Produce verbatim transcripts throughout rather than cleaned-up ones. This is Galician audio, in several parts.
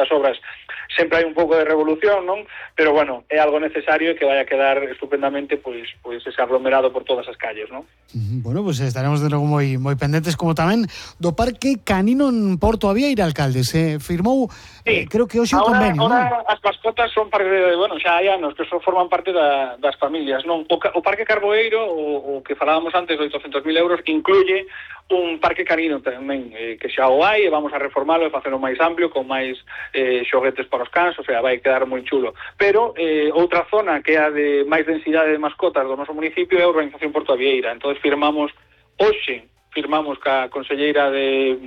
nestas obras sempre hai un pouco de revolución, non? Pero, bueno, é algo necesario e que vai a quedar estupendamente, pois, pois ese aglomerado por todas as calles, non? Bueno, pois pues estaremos de novo moi, moi pendentes, como tamén do Parque Canino en Porto Avieira, alcalde. Se firmou, sí. eh, creo que hoxe un ahora, convenio, ahora non? As mascotas son parte de, bueno, xa hai anos que son forman parte da, das familias, non? O, o Parque Carboeiro, o, o que falábamos antes de oitocentos mil euros, incluye un parque canino tamén, eh, que xa o hai, e vamos a reformalo e facelo máis amplio, con máis eh, xoguetes para os cans, o sea, vai quedar moi chulo. Pero eh, outra zona que é a de máis densidade de mascotas do noso municipio é a Urbanización Porto Avieira. Entón firmamos, hoxe, firmamos ca conselleira de,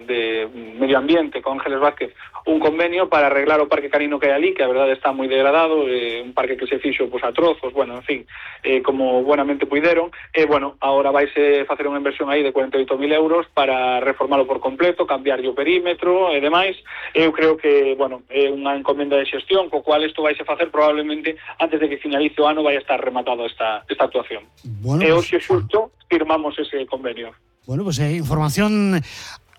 de Medio Ambiente, con Ángeles Vázquez, un convenio para arreglar o parque canino que hai ali, que a verdade está moi degradado, eh, un parque que se fixo pues, a trozos, bueno, en fin, eh, como buenamente puideron, e, eh, bueno, agora vaise facer unha inversión aí de cuarenta e oito mil euros para reformalo por completo, cambiarlle o perímetro e demais. Eu creo que, bueno, é unha encomenda de xestión, co cual isto vaise facer probablemente antes de que finalice o ano vai estar rematado esta, esta actuación. Bueno, e pues, hoxe xusto firmamos ese convenio. Bueno, pois pues, eh, información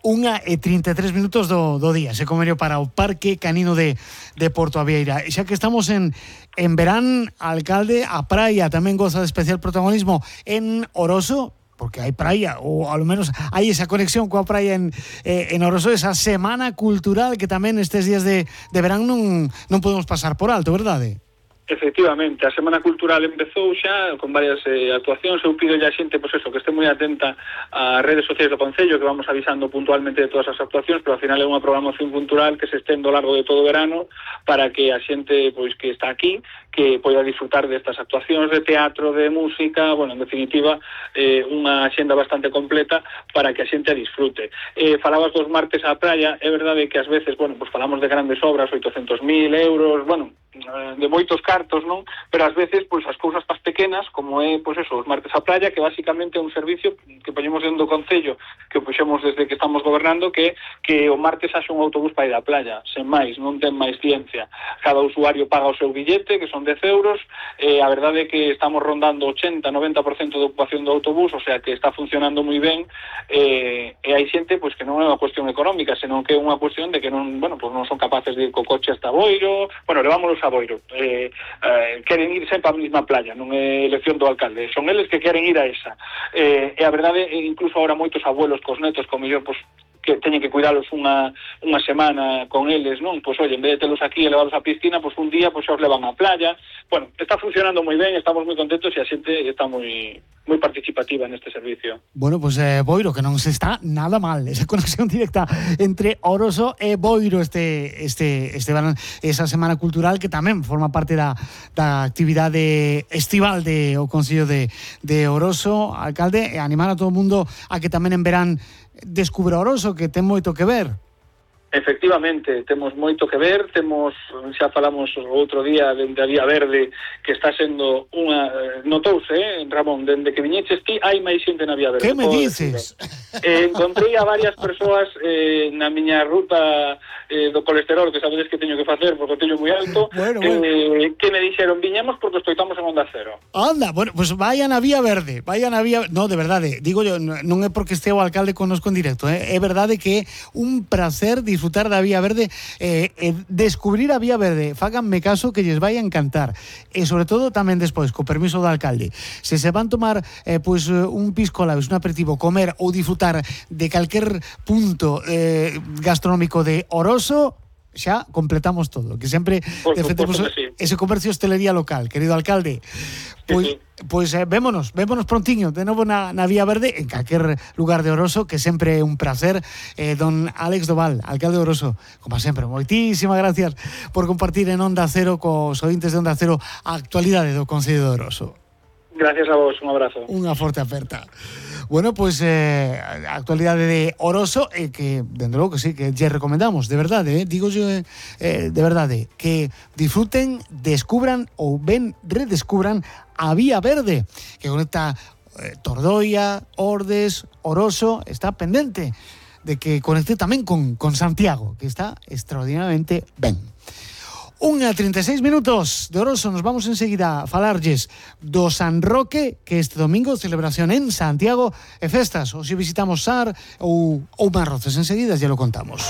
unha e trinta e tres minutos do, do día, ese convenio para o Parque Canino de, de Porto Avieira. Xa que estamos en, en verán, alcalde, a praia tamén goza de especial protagonismo en Oroso, porque hai praia, ou ao menos hai esa conexión coa praia en, eh, en Oroso, esa semana cultural que tamén estes días de, de verán non, non podemos pasar por alto, verdade? Efectivamente, a Semana Cultural empezou xa con varias eh, actuacións. Eu pido a xente, pois eso, que este moi atenta ás redes sociais do Concello, que vamos avisando puntualmente de todas as actuacións, pero ao final é unha programación cultural que se estende ao largo de todo o verano para que a xente pois que está aquí que poida disfrutar destas actuacións de teatro, de música, bueno, en definitiva, eh, unha axenda bastante completa para que a xente a disfrute. Eh, falabas dos martes á praia, é verdade que ás veces, bueno, pues falamos de grandes obras, oitocentos mil euros, bueno, de moitos cartos, non? Pero ás veces, pois, as cousas pas pequenas, como é, pois eso, os martes á praia, que basicamente é un servicio que poñemos dentro do Concello, que o puxemos desde que estamos gobernando, que que o martes haxe un autobús para ir á playa, sen máis, non ten máis ciencia. Cada usuario paga o seu billete, que son dez euros, e a verdade é que estamos rondando ochenta a noventa por cento de ocupación do autobús, o sea que está funcionando moi ben, e, e hai xente, pois, que non é unha cuestión económica, senón que é unha cuestión de que non, bueno, pois non son capaces de ir co coche hasta Boiro, bueno, levámonos a Boiro, eh, eh, queren ir sempre á mesma playa, non é elección do alcalde, son eles que queren ir a esa, eh, e a verdade, incluso agora moitos abuelos cos netos, como mellor, pois, que teñen que cuidalos unha, unha semana con eles, non? Pois, oye, en vez de telos aquí e levalos á piscina, pois un día pois os levan á playa. Bueno, está funcionando moi ben, estamos moi contentos e a xente está moi moi participativa neste servicio. Bueno, pois pues, eh, Boiro, que non se está nada mal, esa conexión directa entre Oroso e Boiro, este este este esa semana cultural que tamén forma parte da, da actividade estival de o Concello de, de Oroso, alcalde, e animar a todo o mundo a que tamén en verán descubra Oroso, que ten moito que ver. Efectivamente, temos moito que ver, temos, xa falamos outro día dende a Vía Verde, que está sendo unha, notouse, eh, Ramón, dende que viñeches ti, hai máis xente na Vía Verde. Que me dices? Eh, encontrei a varias persoas eh, na miña ruta eh, do colesterol, que sabedes que teño que facer, porque o teño moi alto, bueno, bueno. Eh, que me dixeron, viñamos porque escoitamos en Onda Cero. Anda, bueno, pues vayan a Vía Verde, vayan a Vía... No, de verdade, digo yo, non é porque este o alcalde connosco en directo, eh? É verdade que é un placer disfrutar da Vía Verde, eh, eh, descubrir a Vía Verde, fáganme caso que lles vai a encantar, e sobre todo tamén despois, co permiso do alcalde, se se van tomar eh, pues, un pisco labis, un aperitivo, comer ou disfrutar de calquer punto eh, gastronómico de Oroso, xa completamos todo, que sempre defendemos sí. ese comercio hostelería local, querido alcalde. Pois, sí, sí. pois eh, vémonos, vémonos prontiño de novo na, na Vía Verde, en calquer lugar de Oroso, que sempre é un placer. eh, Don Álex Doval, alcalde de Oroso, como sempre, moitísimas gracias por compartir en Onda Cero cos ointes de Onda Cero a actualidade do Concello de Oroso. Gracias a vos, un abrazo. Unha forte aperta. Bueno, pois pues, eh, a actualidade de Oroso e eh, que, dende logo que sí, que lle recomendamos, de verdade, eh, digo yo, eh, de verdade, que disfruten, descubran ou ben redescubran a Vía Verde, que conecta eh, Tordoia, Ordes, Oroso, está pendente de que conecte tamén con, con Santiago, que está extraordinariamente ben. Unha trinta e seis minutos de Oroso, nos vamos enseguida a falarlles do San Roque, que este domingo celebración en Santiago e festas, ou se visitamos Sar ou, ou Marroces, enseguida ya lo contamos.